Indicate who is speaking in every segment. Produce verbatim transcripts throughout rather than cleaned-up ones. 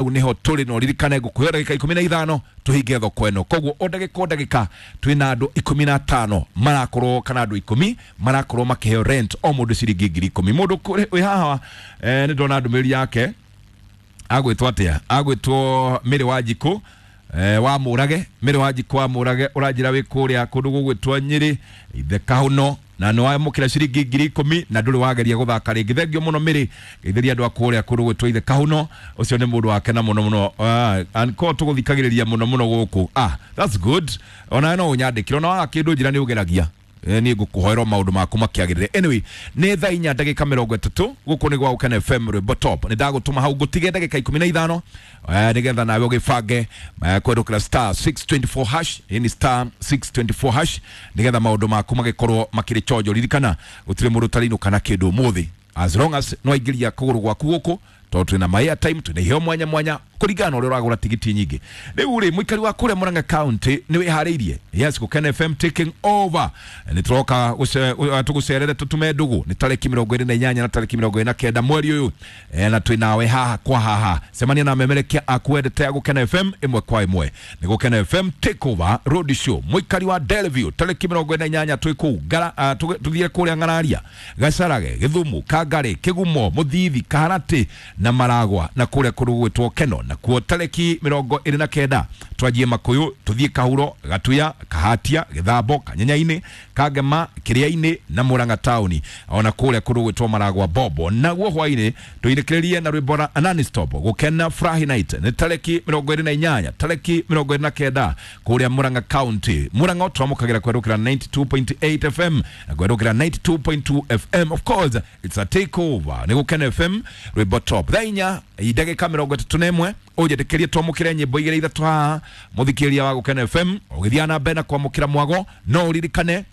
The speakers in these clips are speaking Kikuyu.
Speaker 1: Niho tũrĩ na ũririkane ngũkũhe ndagĩka ikũmi na ithano tũhinge thoko ĩno. Koguo o ndagĩka o ndagĩka twĩna andũ ikũmi na atano marakorwo, kana andũ ikũmi marakorwo makĩheo rent, o mũndũ ciringi ngiri ikũmi. Mũndũ wĩ haha, eh, nĩ ndona ndũmĩrĩri yake. Agwĩtwo atĩa? Agwĩtwo Mĩrĩ wa Njikũ, eh, wa Mũrage. Mĩrĩ wa Njikũ wa Mũrage, ũranjĩra wĩ kũrĩa kũndũ gũgwĩtwo Nyĩrĩ ithe Kahuno, na nĩ wamũkĩra ciringi ngiri ikũmi na ndũrĩ wageria gũthaka rĩngĩ. Thengio mũno, Mĩrĩ. Geithĩria andũ a kũrĩa kũndũ gwĩtwo ithe Kahuno. Ũcio nĩ mũndũ wakena mũno mũno. Ah, anko tũgũthikagĩrĩria mũno mũno gũkũ. Ah, that's good. Ona no ũnyandĩkĩre, ona waga kĩndũ njĩra nĩ ũgeragia. Eh, niĩ ngũkũhoera maũndũ maku makĩagĩrĩre. Anyway, nĩ thaa inya ndagĩka mĩrongo ĩtatũ. Gũkũ nĩ gwa Gũkena F M, rwĩmbo top. Nĩ ndagũtũma hau ngũtige ndagĩka ikũmi na ithano, eh, nĩgetha nawe ũgĩbange, eh, kũhetũkĩra star six two four hash. Ĩĩ, nĩ star six two four hash, nĩgetha maũndũ maku magĩkorwo makĩrĩ chonjo. Ririkana gũtirĩ mũndũ ũtarĩinũka na kĩndũ ũmũthĩ, as long as no aingĩria kũgũrũ gwaku gũkũ, tondũ twĩna ma airtime, twĩna iheo mwanya mwanya kũringana na ũrĩa ũragũra tigiti nyingĩ. Rĩu rĩ, mũikari wa kũrĩa Murang'a County, nĩ wĩharĩirie? Yes, Gũkena F M taking over. Nĩ tũroka tũgũcerere, tũtume ndũgũ. Nĩ tarĩki mĩrongo ĩrĩ na inyanya na tarĩki mĩrongo ĩrĩ na kenda mweri ũyũ, eh, na twĩ nawe haha kwa haha. Cemania na memerekia aku wendete a Gũkena F M ĩmwe kwa ĩmwe. Nĩ Gũkena F M take over road show. Mũikari wa Delview, tarĩki mĩrongo ĩrĩ na inyanya twĩ kũu Ngara- ah, tũgĩ- tũthiĩ kũrĩa Ng'araria, Gacarage, Gĩthumu, Kangarĩ, Kĩgumo, Mũthithi, Kaharatĩ na Maragwa, na kũrĩa kũndũ gũgwĩtwo Keno. Nakuo tarĩki mĩrongo ĩrĩ na kenda twanjie Makũyũ, tũthiĩ Kahuro, Gatuya, Kahatia, Gĩthambo, Kanyenyainĩ, Kangema, Kĩrĩa-inĩ na Murang'a taũni, ona kũrĩa kũndũ gwĩtwo Maragwa Bobo. Naguo hwainĩ tũinĩkĩrĩrie na rwĩmbo ra non-stop Gũkena Furahi Night. Nĩ tarĩki mĩrongo ĩrĩ na inyanya, tarĩki mĩrongo ĩrĩ na kenda kũrĩa Murang'a County. Murang'a twamũkagĩra kwerũkĩra ninety-two point eight F M na kwerũkĩra ninety-two point two F M. Of course, it's a takeover. Nĩ Gũkena F M, rwĩmbo top. Thaa inya ndagĩka mĩrongo ĩtatũ na ĩmwe, ũnjĩtĩkĩrie twamũkĩre nyĩmbo igĩrĩ ithatũ haha. Mũthikĩrĩria wa Gũkena F M, ũgĩthiĩ na mbere na kwamũkĩra mwago, no ũririkane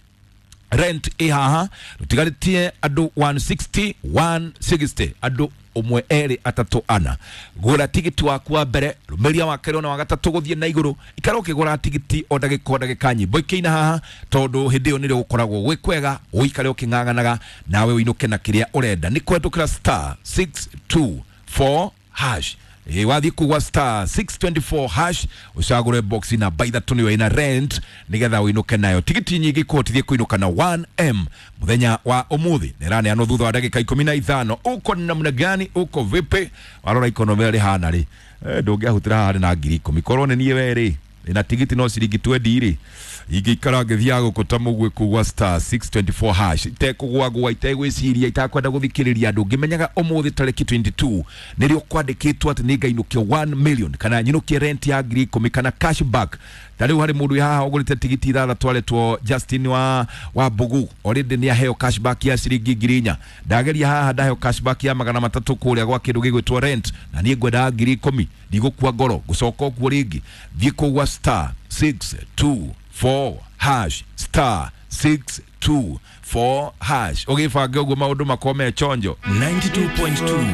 Speaker 1: rent ĩ haha. Tũtigarĩtie andũ one sixty, one sixty, andũ ũmwe, erĩ, atatũ, ana. Gũra tigiti waku wa mbere, rũmĩria wa kerĩ, ona wa gatatũ gũthiĩ na igũrũ. Ikara ũkĩgũra tigiti o ndagĩka o ndagĩka, nyĩmbo ikĩina haha, tondũ hĩndĩ ĩyo nĩrĩo gũkoragwo gwĩ kwega. Ũikare ũkĩng'ang'anaga nawe ũinũke na kĩrĩa ũrenda. Nĩ kũhetũkĩra star six two four hash. Ĩ, wathiĩ kugwa star six two four hash, ũcagũre box namba ithatũ, nĩyo ĩna rent, nĩgetha ũinũke nayo. Tigiti nyingĩ ikũhotithie kũinũka na one M mũthenya wa ũmũthĩ. Nĩraneanwo thutha wa ndagĩka ikũmi na ithano. Uko namna gani? Uko vipi? Warora ikonomĩ ũrĩa rĩhana rĩ, eh, ndũngĩahutĩra haha na ngiri ikũmi. Korwo nĩ niĩ we rĩ, na tigiti no ciringi twenty rĩ, ingĩikara ngĩthiaga gũkũ ta mũguĩ kugwa star six two four hash, itekũgwagwa, itegwĩciria, itakwenda gũthikĩrĩria andũ, ngĩmenyaga ũmũthĩ tarĩki twenty-two nĩrĩo kwandĩkĩtwo atĩ nĩ ngainũkia one million, kana nyinũkie rent ya ngiri ikũmi, kana cashback. Ta rĩu harĩ mũndũ wĩ haha ũgũrĩte tigiti ithathatũ, aretwo Justin wa wa Mbugu. Already nĩ aheo cashback ya ciringi ngiri inya. Ndageria haha, ndaheo cashback ya magana matatũ kũrĩa gwa kĩndũ gĩgwĩtwo rent, na niĩ ngwendaga ngiri ikũmi. Ndigũkua ngoro ngũcoka ũguo rĩngĩ. Thiĩ kũu gwa star six two four hash, star six two four hash, ũgĩbange ũguo maũndũ makorwo me chonjo.
Speaker 2: ninety-two point two.